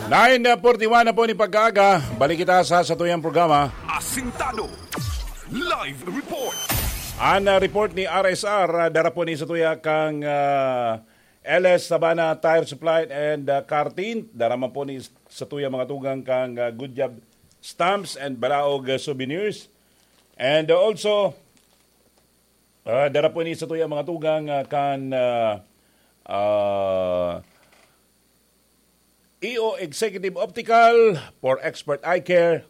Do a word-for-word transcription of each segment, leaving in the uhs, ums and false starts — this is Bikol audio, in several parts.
Nine forty-one na po ni pagkaaga. Balik kita sa satuyang programa. Asintado. Live report. An, ah, report ni R S R, ah, dara po ni satuya kang, ah, L S Sabana Tire Supply and, ah, Car Tint. Dara man po ni satuya mga tugang kang, ah, Good Job Stamps and Balaog, ah, Souvenirs. And, ah, also, ah, dara po ni satuya mga tugang, ah, kan, ah, ah, E O Executive Optical for expert eye care.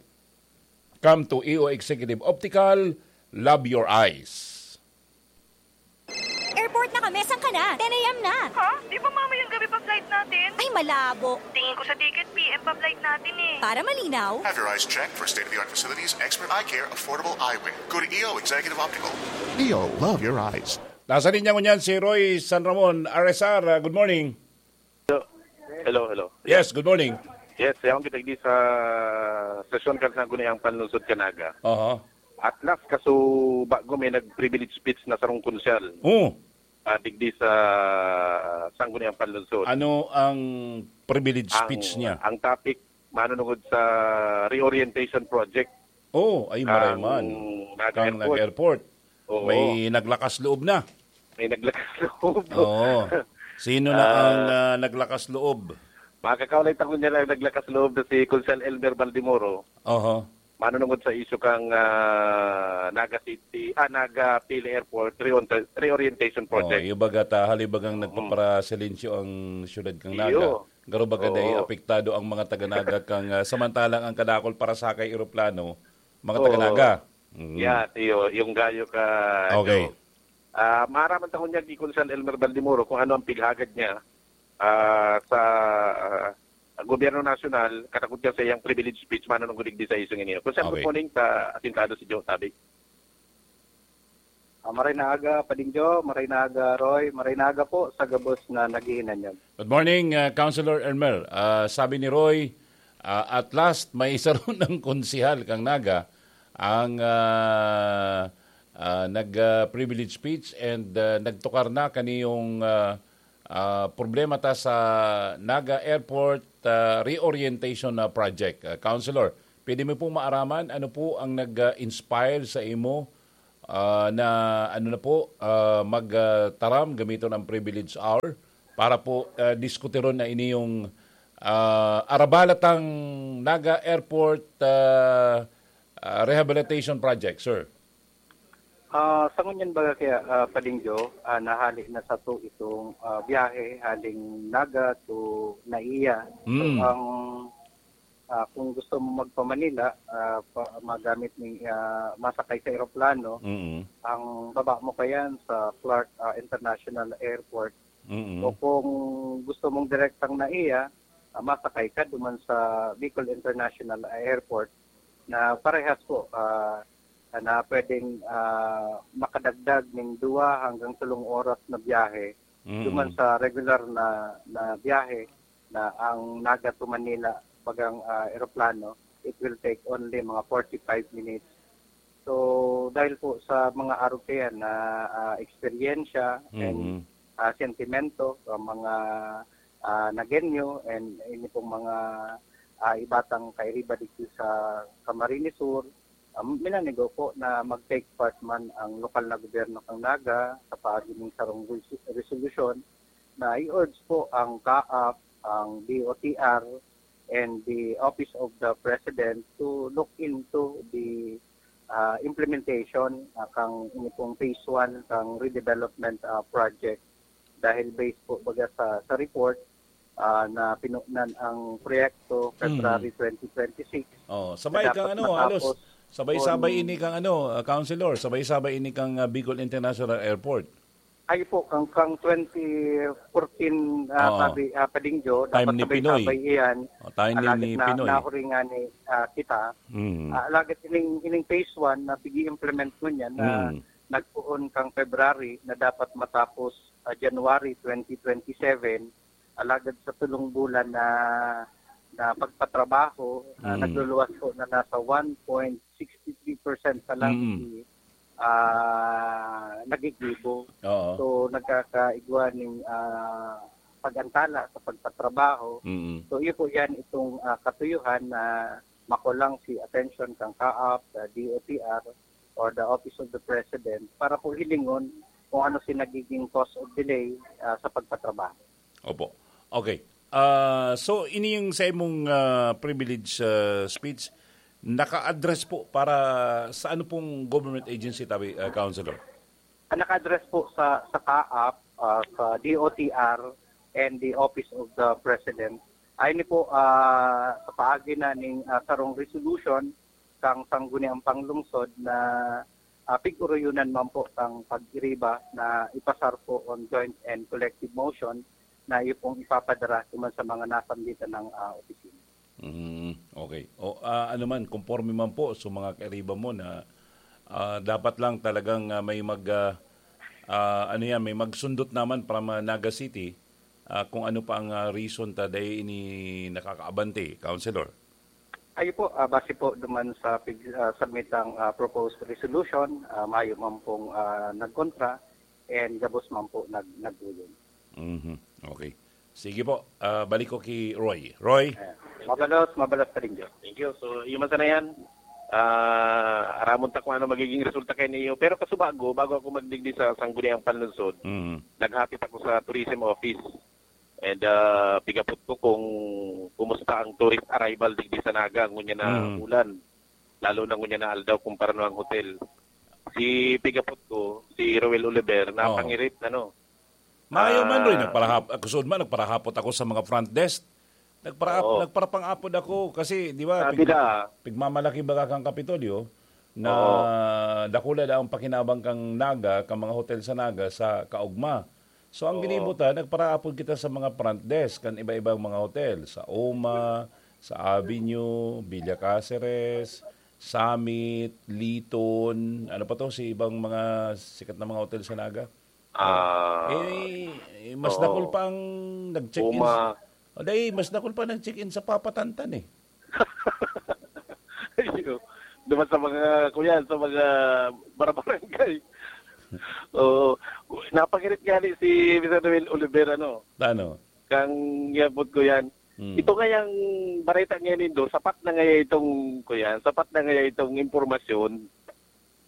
Come to E O Executive Optical. Love your eyes. Airport na kami. Saan ka na? Ten a.m. na. Ha? Di ba mamayang gabi pa flight natin? Ay, malabo. Tingin ko sa ticket, P M pa flight natin eh. Para malinaw. Have your eyes checked for state-of-the-art facilities, expert eye care, affordable eyewear. Go to E O Executive Optical. E O, love your eyes. Nasa linya ngunyan si Roy San Ramon, R S R. Ah, good morning. Hello, hello. Yes, good morning. Yes, yaon kita digdi sa sesyon kan Sangguniang Panlungsod kan Naga. Aha. At last, kaso bago may nag-privilege speech na sarong konsyal. Oh, Ah, digdi sa Sangguniang Panlungsod. ano ang privilege Ang, speech niya? Ang topic, manunungod sa reorientation project. Oh, ay maray man. Naga Kang Airport. nag-airport. Oo. May naglakas loob na. May naglakas loob. Oo. Sino na ang ah, naglakas loob? Makakaulay ta ngunyan ang naglakas loob na si Konsehal Elmer Baldemoro. Oho. Manunungod sa isyu kang ah, Naga City, ah, Naga Pili Airport reon- reorientation Oh, project. Yung baga ta, halibagang nagpaparasilencio ang syudad kang Naga. Iyo. Garo baga Oo. dahil apektado ang mga taga-Naga kang ah, samantalang ang kadakol para sakay eroplano, mga Oo. taga-Naga. Mm. Yeah, tiyo, yung gayo ka. Okay. Ah, maaraman ta ngunyan ni Konsehal Elmer Baldemoro kung ano ang pighagad niya ah, sa ah, gobyerno nasyonal, katakot niya sa iyang privilege speech, manunungod digdi sa isyu niyo. Konsehal, Okay. Good morning, ta asintado si Joe Tabi. Ah, maray na aga, Pading Jo, maray na aga, Roy, maray na aga po sa gabos na naghihinanyag. Good morning, uh, Councilor Elmer. Uh, sabi ni Roy, uh, at last, may isa ron ng konsihal kang Naga ang uh, uh, nag-privilege speech and uh, nagtukar na kaniyong uh, uh, problema ta sa Naga Airport uh, Reorientation uh, Project. Uh, Councilor, pwede mo pong maaraman ano po ang nag-inspire sa imo ah, na ano na po, ah, magtaram gamiton ang privilege hour para po ah, diskutiron na ini yung ah, arabalatang Naga Airport ah, ah, Rehabilitation Project, sir. Ah, sa ngunyan baga kaya, ah, Pading Jo, ah, nahali na sato itong ah, biyahe haling Naga to Naiya. So, Mm. ang ah, kung gusto mo magpa-Manila, ah, pa, magamit ni ah, masakay sa eroplano, Mm. ang baba mo kayan sa Clark ah, International Airport. Mm. O kung gusto mong direktang Naiya, ah, masakay ka duman sa Bicol International Airport na parehas po ah, na pwedeng ah, makadagdag ning duwa hanggang tulong oras na biyahe Mm. duman sa regular na na biyahe na ang Naga to Manila bagang ah, eroplano, it will take only mga forty-five minutes. So dahil po sa mga arog kayan na ah, eksperyensya and Mm. ah, sentimento sa mga ah, Nagueño and ini pong mga ah, ibatang kairiba digdi sa Camarines Sur, um, minanigo po na mag-take part man ang lokal na gobyerno kang Naga sa paagi ning sarong res- resolusyon na i-urge po ang CAAP, ang D O T R, and the Office of the President to look into the ah, implementation ah, kang ini pong phase one kang redevelopment ah, project dahil based po baga sa sa report ah, na pinunan ang proyekto February twenty twenty-six. Oh, sabay Na kang dapat ano, halos matapos sabay-sabay on- ini kang ano, ah, Councilor, sabay-sabay ini kang ah, Bicol International Airport. Ay po, kang, kang twenty fourteen, ah, Oo. sabi, ah, Pading Jo, Time dapat ni sabay-sabay Pinoy. iyan. O, time ni, Alagad ni na, Pinoy. nahuringan ni ah, kita. Mm. Ah, alagad ining, ining phase one na pigi-implement mo niyan na Mm. nagpoon kang February na dapat matapos ah, January twenty twenty-seven. Alagad sa tulong bulan na na pagpatrabaho, ah, Mm. nagluluwas po na nasa one point sixty three percent pa lang Mm. si ah, nagigibo. Oo. So, nagkakaigwa ning ah, pag-antala sa pagpatrabaho. Mm. So, iyo po yan itong, ah, katuyuhan na makulang si attention kang CAAP, the D O T R, or the Office of the President para po hilingon kung ano si nagiging cause of delay, ah, sa pagpatrabaho. Opo. Okay. Ah, so, ini yung sa imong, ah, privilege, ah, speech, naka-address po para sa ano pong government agency, tabi, ah, Councilor? Ang naka-address po sa, sa CAAP, ah, sa D O T R and the Office of the President. Ay ni po, ah, sa paagi na ning, ah, sarong resolution kang Sangguniang Panglungsod na, ah, pig-uruyonan man po kang pag-iriba na ipasar po on joint and collective motion na iyo pong ipapadara duman sa mga nasambitan ng, ah, opisina. Mm, okay. O, ah, ano man, konforme man po sa mga kairiba mo na, ah, dapat lang talagang, ah, may mag, ah, ah, ano yan, may magsundot naman para ma-, Naga City, ah, kung ano pa ang, ah, reason ta dai ini nakakaabante, Councilor. Ayo po, ah, base po duman sa pig-, ah, submit ang, ah, proposed resolution, ah, mayo man pong, ah, nagkontra and gabos man po nag-, nag-uyon. Mhm. Okay. Sige po, ah, balik ko ki Roy. Roy? Eh, mabalos, mabalos pa rin, Diyos. Thank you. So, iyo man sana yan. Ah, aramon ta kung ano magiging resulta kay niyo. Pero kasubago, bago ako magdigdi sa Sangguniang Panlungsod, Mhm. naghapit ako sa tourism office. And, ah, pigapot ko kung kumusta ang tourist arrival digdi sa Naga, ngunyan na Mhm. ulan. Lalo na ngunyan na aldaw kung parano ang hotel. Si pigapot ko, si Roel Oliver, Oo. napangirit, ano. Maayo man, Roy, Ah. nagparahap-, ako sud man, nagparahapot ako sa mga front desk. Nagpara-, Oo. nagparapangapod ako kasi, di ba, Sabi pig-, na. pigmamalaki baga kang Kapitolyo na Oo. dakula daw ang pakinabang kang Naga, kang mga hotel sa Naga sa kaugma. So, ang Oo. ginibo ta, nagparaapod kita sa mga front desk kan iba-ibang mga hotel, sa Oma, sa Avenue, Villa Caceres, Summit, Liton, ano pa to, si ibang mga sikat na mga hotel sa Naga. Ah, Eh, eh, mas oo. dakul pa ang nag-check-in Uma. sa, o, dai, mas dakul pa nag-check-in sa Papa Tantan eh. Iyo. Duman sa mga, kuya, sa mga barabarangay. Oo. Napangirit nga ni si Mister Noel Oliver, ano? Tano? Kang yapot ko yan. Hmm. Ito nga yung bareta nga nindo, sapat na nga itong, kuya, sapat na nga itong impormasyon.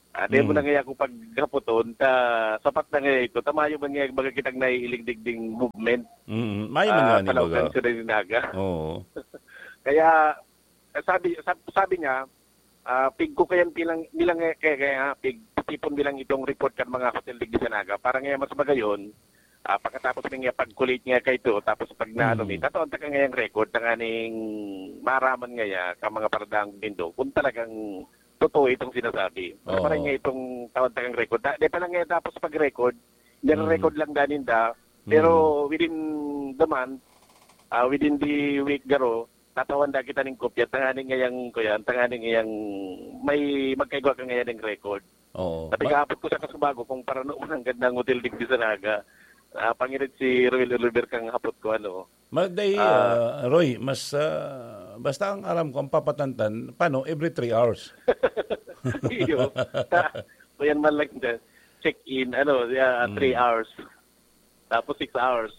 Ah, di mo Hmm. na nga ako paghapoton, ta, sapat na nga ito. Tamayo man nga, baga kitang naiilig digding movement. Mm, mayo man Ah, nga ni, Palaw baga. Kanso na ni Naga. Oo. Kaya, eh, sabi, sab-, sabi niya, ah, pig ko kayan bilang, bilang, eh, kaya, kaya, pig, tipon bilang itong report kan mga hotel digdi sa Naga. Para nga mas magayon, ah, pagkatapos nga pag-collate nga kaito, tapos pag naano Mm. mi, tatawan ta ka ngayang record, tanganing maraman ngaya ka mga paradang nindo, kung talagang totoo itong sinasabi. Para Oo. maray nga itong tawan ta kang record. Da-, di pa lang nga tapos pag-record, nire-record Mm. lang danin da, pero Mm. within the month, ah, within the week garo, tatawan da kita ning kopya, tanganing ngayang, kuya, tanganing ngayang may magkaigwa ka ngayon ng record. Oo. Sabi Ba- kahapon ko sa kasubago kung parano man ang gandang hotel digdi sa Naga. Ah, pangirit si Roel Oliver kang hapot ko, ano. Magday, Ah. ah, Roy, mas, ah, basta ang aram ko, ang papatantan, paano? Every three hours. Iyo. Ta-, kuyan man lang dyan. Check-in, ano, yeah, Mm. three hours. Tapos six hours.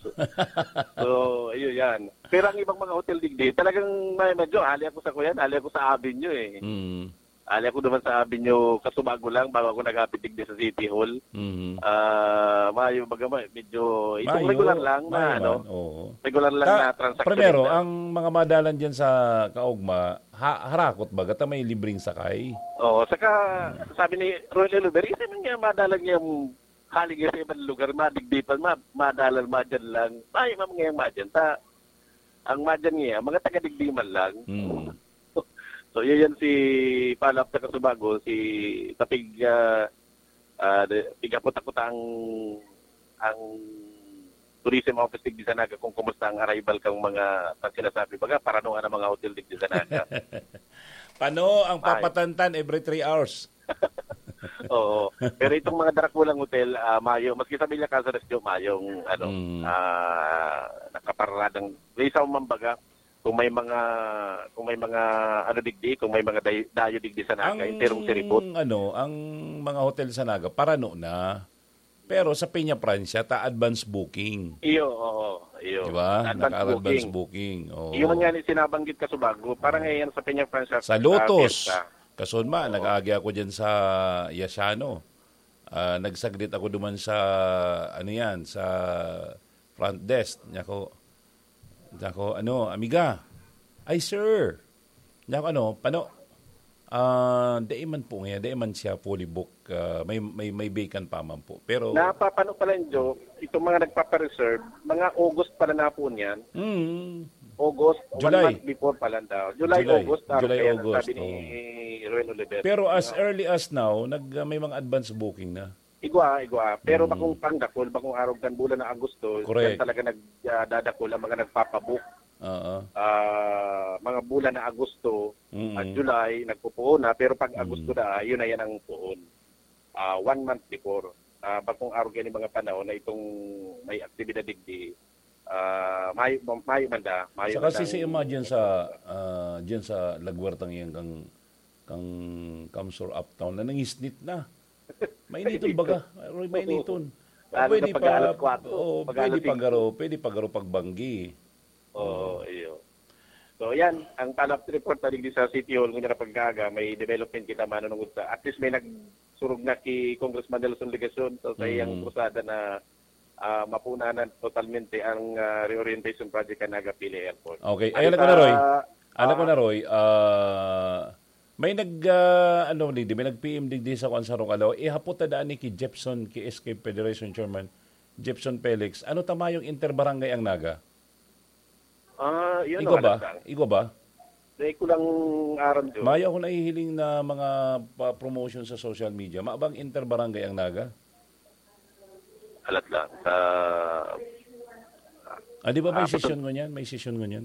So, ayun yan. Pero ang ibang mga hotel digdi, talagang may medyo, ali ako sa kuyan, ali ako sa Avenue eh. Mm. Ali ako naman sa Avenue, kasubago lang, bago ako naghapit digdi sa City Hall. Mhm. Ah, mayo baga ma-, medyo, itong Mayo, regular lang na, mayo ano, man, oo. regular lang Ta-, na transaction primero, lang. Ang mga madalan dyan sa Kaugma, ha-, harakot baga ta may libreng sakay? Oo, saka Hmm. sabi ni Roy Leluberi, "Isa man nga madalan niya hali nga sa ibang lugar, madigdi pa, ma-, madalan, madyan lang." Mayo man nga yung madyan. Ta-, ang madyan niya, mga taga-digdi man lang. Hmm. So, yun yan si Palap sa Kasubago, si Tapig, ah, ah, de-, pigaputakot ang, ang tourism office digdi sa Naga kung kumusta ang arrival kang mga, ang sinasabi, baga, paranoan ang mga hotel digdi sa Naga. Pano ang Ay. papatantan every three hours? Oo. Pero itong mga darakulang hotel, ah, mayo, maski sa Villa Caceres, mayo, mayong, ano, Mm. ah, nakapararadang, may isa man baga, kung may mga, kung may mga, ano, digdi, kung may mga day-, dayo digdi sa Naga, Ang, enterong siribot. ano, ang mga hotel sa Naga, parano na. Pero sa Peña Francia, ta advance booking. Iyo, oo. Iyo. Di ba? Advance Naka-advance booking. booking. Oo. Iyo man nga ni sinabanggit ka sa bago. Parang Oo. ngayon sa Peña Francia, Sa ah, Lotus. Fiesta. Kasunma, Oo. nag-aagi ako dyan sa Yasiano. Ah, nagsaglit ako duman sa, ano yan, sa front desk. Niya ko, niya ko, ano, "Amiga." "Ay, sir." Niya ko, ano, pano, ah, dai man po ngayon, dai man siya fully book. Ah, may, may, may vacant pa man po. Pero Napapano pala yun, Joe? Itong mga nagpapareserve, mga August pala na po niyan. Mm. August, one July. month before pala daw. July, July. August, ah, July, kaya August, sabi ni oo. Roel Oliver. Pero as Ah. early as now, nag, ah, may mga advance booking na. Igwa, igwa. Pero Mm. bakong pangdakol, bakong arog kan bulan na Agosto, Correct. yan talaga nag, ah, dadakol ang mga nagpapabook. Oo. Ah, mga bulan na Agosto Mm. at July, nagpupuon na. Pero pag Mm. Agosto na, yun na yan ang puon. Ah, one month before. Ah, bakong arog yan yung mga panahon na itong may aktibidad digdi, ah, mayo, mayo man da, mayo Saka man si, si dang Emma dyan sa, ah, dyan sa lagwartang yan kang, kang Kamsur Uptown na nangisnit na. Mainiton Mainiton. baga. Roy, mainiton. Lalo na Pwede pag pa, alas kwatro, oo, pag pwede alas singko. pagaro, pwede pagaro pagbanggi. Oo, Oo. iyo. So, yan, ang follow-up report na digdi sa City Hall, ngunyan na pag-aaga, may development kita manunungod sa, at least may nagsurog na ki Congressman Nelson Legacion, so, sa iyang Mm. krusada na, ah, mapunanan totalmente ang, ah, reorientation project kan Naga Pili Airport. Okay. Ay, Ano alam ko na, Roy. sa, Alam ko ah, na, Roy. Ah, may nag, ah, ano, digdi, may nag-P M digdi sa kuwan sa Rongalaw. Ihapot na daan ni ki Jepson, ki S K Federation Chairman, Jepson Felix. Ano ta mayong interbarangay ang Naga? Ah, yun Igwa ang ba? alam lang. Igwa ba? Dahil ko lang aram, Joe. Mayo ako nahihiling na mga pa-promotion sa social media. Mabang interbarangay ang Naga? Alat lang. Sa Ah, di ba may Ah, sesyon ngunyan? May sesyon ngunyan?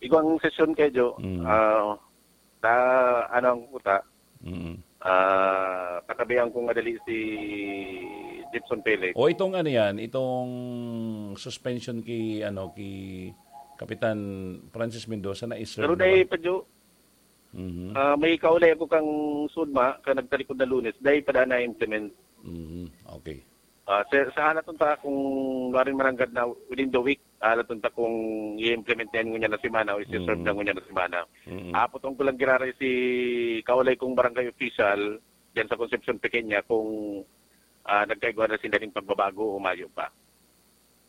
Igwang sesyon kayo, Joe. Mm. Ah, sa, ano ang kuta? Mm. Ah, katabihan kong madali si Jepson Felix. O itong ano yan, itong suspension ki, ano, ki Kapitan Francis Mendoza na i-serve Pero na dahil ba? pa, Joe, Mhm. ah, may kaulay ako kang Sudma, ka nagtalikod na Lunes, dahil pa daan na implement. Mhm. Okay. Ah, sa, sa halaton ta kung maring maranggad na within the week, halaton ta kung i-implement na yan ngunyan na semana o isi-serve Mm. na ngunyan na semana. Mm. Ah, putong ko lang giraray si kaulay kong barangay official diyan sa Concepcion Pequeña kung, ah, nagkaigwa na sinda ning pagbabago o mayo pa.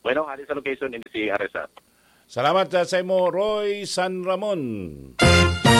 Bueno, hali sa location, ini si Aresat. Salamat, ah, sa imo, Roy San Ramon.